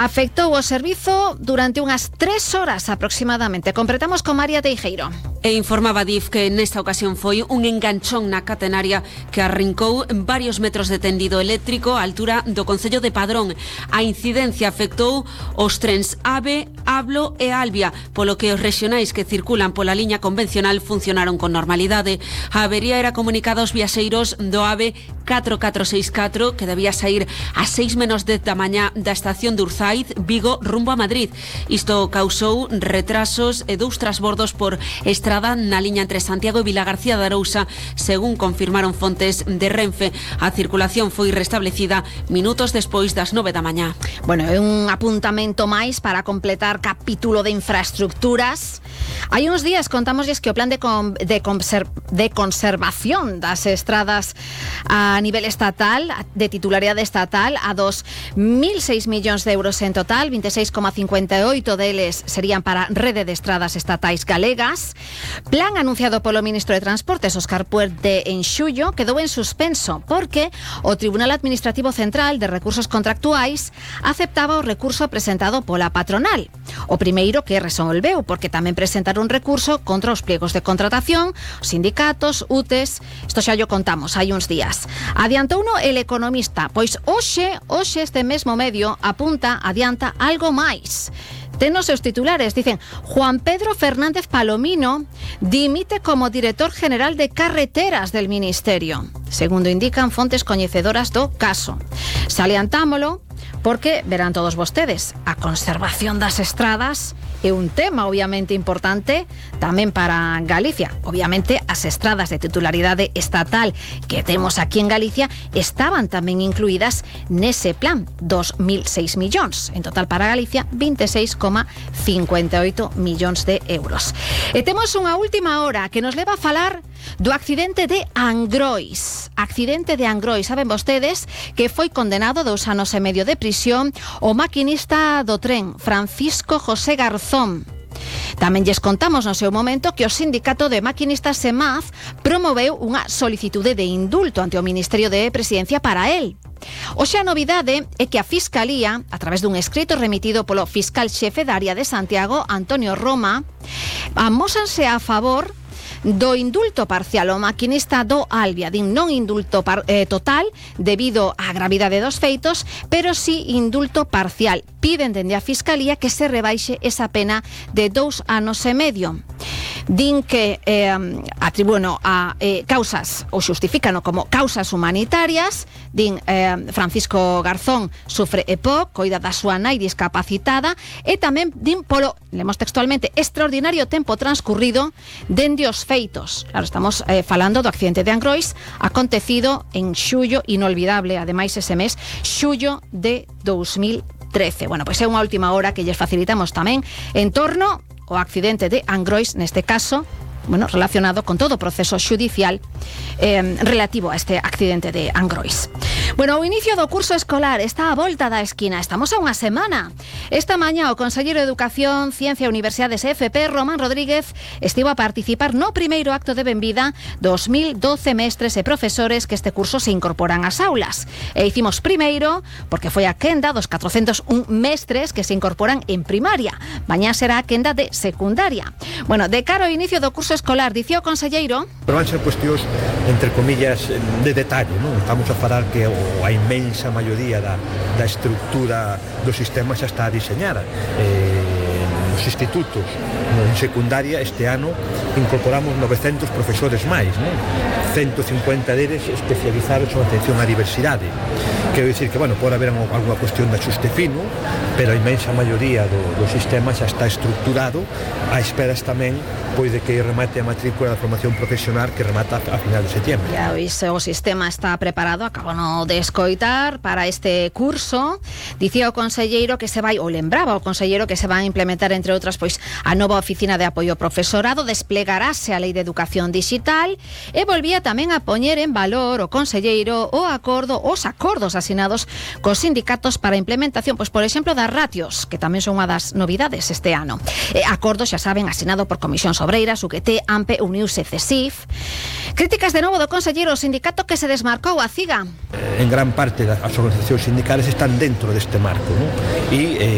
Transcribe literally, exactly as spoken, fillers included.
afectou o servizo durante unhas tres horas aproximadamente. Completamos con María Teijeiro. E informaba D I F que nesta ocasión foi un enganchón na catenaria que arrincou varios metros de tendido eléctrico á altura do concello de Padrón. A incidencia afectou os trens AVE, Ablo e Albia, polo que os rexionais que circulan pola liña convencional funcionaron con normalidade. A avería era comunicada aos viaxeiros do AVE catro catro seis catro, que debía sair a seis menos dez da mañá da estación de Urzaiz, Vigo, rumbo a Madrid. Isto causou retrasos e dous transbordos por estrada na liña entre Santiago e Vilagarcía de Arousa, según confirmaron fontes de Renfe. A circulación foi restablecida minutos despois das nove da mañá. Bueno, é un apuntamento máis para completar capítulo de infraestructuras. Hai uns días contámosles que o plan de, con, de, conser, de conservación das estradas a nivel estatal, de titularidade estatal, a dos mil seis millóns de euros en total, veintiséis coma cincuenta e oito deles serían para rede de estradas estatais galegas. Plan anunciado polo ministro de Transportes, Óscar Puente, en xullo, quedou en suspenso porque o Tribunal Administrativo Central de Recursos Contractuais aceptaba o recurso presentado pola patronal. O primeiro que resolveu, porque tamén presentaron un recurso contra os pliegos de contratación, os sindicatos, U T E S, isto xa yo contamos hai uns días. Adiantouno el Economista, pois hoxe, hoxe este mesmo medio apunta, adianta algo máis. Ten os seus titulares, dicen: Juan Pedro Fernández Palomino dimite como director general de carreteras del Ministerio, segundo indican fontes coñecedoras do caso. Salientámolo porque, verán todos vostedes, a conservación das estradas é un tema obviamente importante tamén para Galicia. Obviamente as estradas de titularidade estatal que temos aquí en Galicia estaban tamén incluídas nese plan, dos mil seis millóns. En total para Galicia, veintiséis coma cincuenta e oito millóns de euros. E temos unha última hora que nos leva a falar do accidente de Angrois. Accidente de Angrois. Saben vostedes que foi condenado a dous anos e medio de prisión o maquinista do tren, Francisco José Garzón. Tamén lles contamos no seu momento que o sindicato de maquinistas SEMAZ promoveu unha solicitude de indulto ante o Ministerio de Presidencia para él. Hoxe a novidade é que a Fiscalía, a través dun escrito remitido polo fiscal xefe da área de Santiago, Antonio Roma, amósanse a favor do indulto parcial ao maquinista do Albia. Din non indulto par, eh, total debido á gravidade dos feitos, pero sí indulto parcial. Piden dende a Fiscalía que se rebaixe esa pena de dous anos e medio. Din que eh, atribúen a eh, causas, ou xustifícano como causas humanitarias. Din eh, Francisco Garzón sufre E P O C, coida da súa nai discapacitada, e tamén din polo, lemos textualmente, extraordinario tempo transcurrido dende os feitos. Claro, estamos eh, falando do accidente de Angrois acontecido en xullo, inolvidable, ademais ese mes, xullo de dous mil trece. Bueno, pois é unha última hora que lles facilitamos tamén en torno ao accidente de Angrois, neste caso, bueno, relacionado con todo o proceso xudicial eh, relativo a este accidente de Angrois. Bueno, o inicio do curso escolar está á volta da esquina. Estamos a unha semana. Esta mañá o conselleiro de Educación, Ciencia e Universidades e F P, Román Rodríguez, estivo a participar no primeiro acto de benvida dos mil doce mestres e profesores que este curso se incorporan ás aulas. E hicimos primeiro porque foi a quenda dos catrocentos un mestres que se incorporan en primaria. Mañá será a quenda de secundaria. Bueno, de cara ao inicio do curso escolar, dicía o conselleiro, pero van ser cuestións, entre comillas, de detalle, non? Estamos a falar que a inmensa maioría da, da estructura do sistema xa está diseñada. Eh, nos institutos, en secundaria, este ano incorporamos novecentos profesores máis, non? ciento cincuenta deles especializados en atención á diversidade. Quero dicir que, bueno, pode haber alguna cuestión de axuste fino, pero a inmensa maioría do, do sistema xa está estructurado, a esperas tamén pois de que remate a matrícula da formación profesional que remata a final de setembro. Ya, o sistema está preparado, acabo no de escoitar para este curso. Dicía o conselleiro que se vai, ou lembraba o conselleiro que se vai a implementar, entre outras, pois a nova oficina de apoio ao profesorado, desplegarase a Lei de Educación Digital e volvía tamén a poñer en valor o conselleiro o acordo, os acordos asinados cos sindicatos para a implementación, pois por exemplo, das ratios, que tamén son unha das novidades este ano. Eh, acordo, xa saben, asinado por Comisión Obreiras, U G T, A M P, Uniuse, CESIF. Críticas de novo do conselleiro, o sindicato que se desmarcou, a CIGA. En gran parte as organizacións sindicales están dentro deste marco, ¿no? E eh,